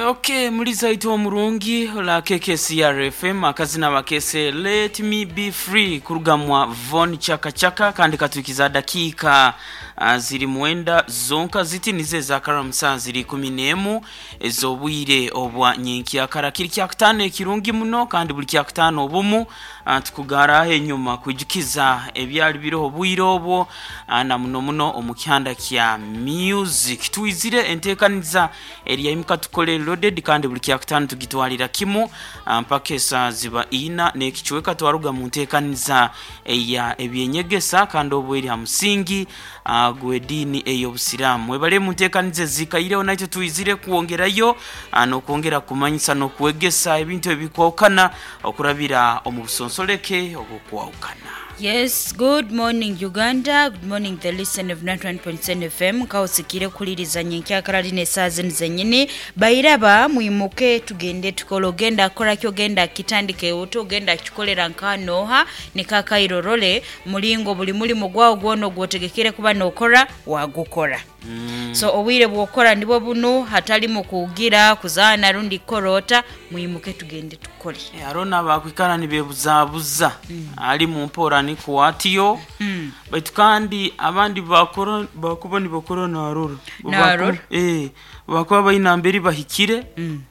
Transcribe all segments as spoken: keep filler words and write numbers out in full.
Okay, muliza itu omurungi la K K C R F M, akazina bakese "Let Me Be Free" kurugamwa Von Chaka Chaka. Kandi katukiza dakiika uh, ziri mwenda zonka ziti nize zakaramusa ziri kumi n'emu ez'obwire obwa nyenkyakara. Kiri kyakutaano ekirungi muno, kandi buli kyakutaano obumu uh, tukugaraho enyuma kwijukiza ebyali biriho obwire obwo, uh, na muno muno omu kihanda kya music. Twizire enteekaniza eriyaimuka tukole loaded, kandi buli kyakutaano tugitwalira kimu uh, mpaka esaa ziba ina n'ekicweka twaruga mu nteekaniza eya ebyenyegesa, kandi obwo eri ha musingi uh, gw'ediini ey'obusiraamu. Mwebale mu nteekaniza ezikaireho, naitwe twizire kwongerayo uh, n'okwongera kumanyisa n'okwegesa ebintu ebikwawukana okurabira omu busonsoleke obwokwawukana. Yes, good morning, Uganda. Good morning, the listener of ninety-one point seven F M. Kausikire kuliriza nyenkyakara lino esaawa zino zennyini. Bairaba, mwimuke tugende tukole. Ogenda kukola ki? Ogenda kitandike ota? Ogenda kikolera nkanooha nikakairorole mulingo buli mulimu gwawo gwona ogwotegekere kuba nokora wagukora mm. So obwire bwokora nibwo buno, hatalimu kugira kuzaana rundi kukorota. Mwimuke tugende tukole. Eh, hariho n'abakwikara nibebuzabuza ali mu mpora nikuwatiyo mm. Baitu kandi abandi bakora bakuba nibakora narora. Narora. Eh, bakuba baina mberi bahikire mm.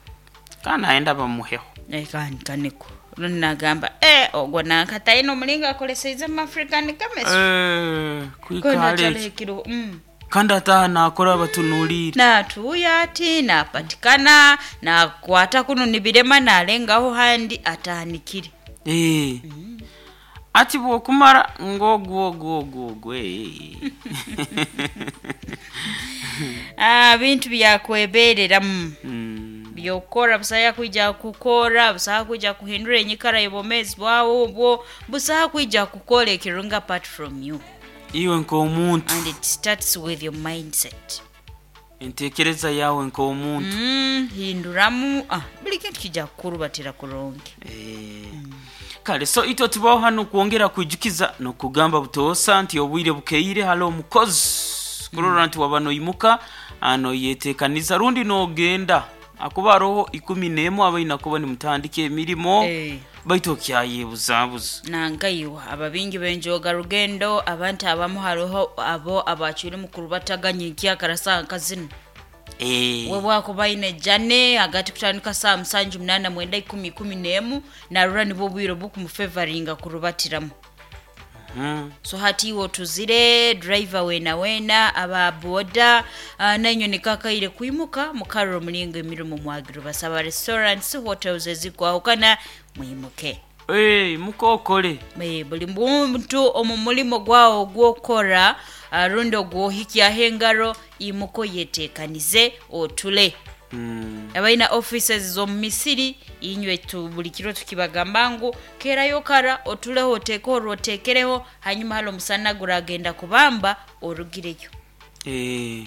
kandi ayenda bamuheho. Eh, kandi kaniko rundi nagamba, eh, ogwo nankataine omulingo akoleseize mu African chemistry. Eh, kwikara eki Kona mm. Kandi ataha nakora batunuulire. Natuuya ati napatikana nakwata kuno nibirema nalengaho handi atahanikire. Eh. Ati bwokumara ngogwo ogwo ogwo ogwo eh. Ah, bintu byakwebereramu Mm. byokukora busaha kwija kukora, busaha kwija kuhindura enyikara y'obwomezi bwawe, obwo busaha kwija kukora ekirunga apart from you. Iwe nk'omuntu. And it starts with your mindset. Entekereza yawe nk'omuntu. mm, hinduramu ah, buli kintu kijja kukurubatira kurungi. Eh. Kale, so itwe tubaho hano kwongera kwijukiza nokugamba butoosa nti obwire bukeire hali omukozi kurora nti waba noimuka noyetekaniza rundi nogenda akuba aroho ikumi n'emu abaina kuba nimutandika emirimo. Eh. Baitu okyayebuzabuza. Nangaiwa ababingi benjoga rugendo, abantu abamu hariho abo abacwire mu kurubataganya enkyakara saa nkazino. Eh. We bwakuba aine jane hagati kutandika saa musanju, munana, mwenda, ikumi, ikumi n'emu, narura nibwo bwire bukumufevaringa kurubatiramu. Mhm. So hati iwe otuzire driver wena wena aba boda, uh, nainywe nikakaire kwimuka mukarora omulingo emirimo mwagiro basaba restaurants, hotels ezikwahukana, mwimuke. Eh, mukokole. Eh, buli muntu omu mulimo gwawo ogwokora uh, rundi ogwohikyaho engaro, imuko yetekanize otule. Mm. Abalina offices z'omu misiri, inywe tu buli kiro tukibagamba ngu kerayo kara otuleho, oteeke orwo oteekereho, hanyuma hali omusana guragenda kubamba orugireyo. Eh.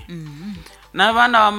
N'abaana.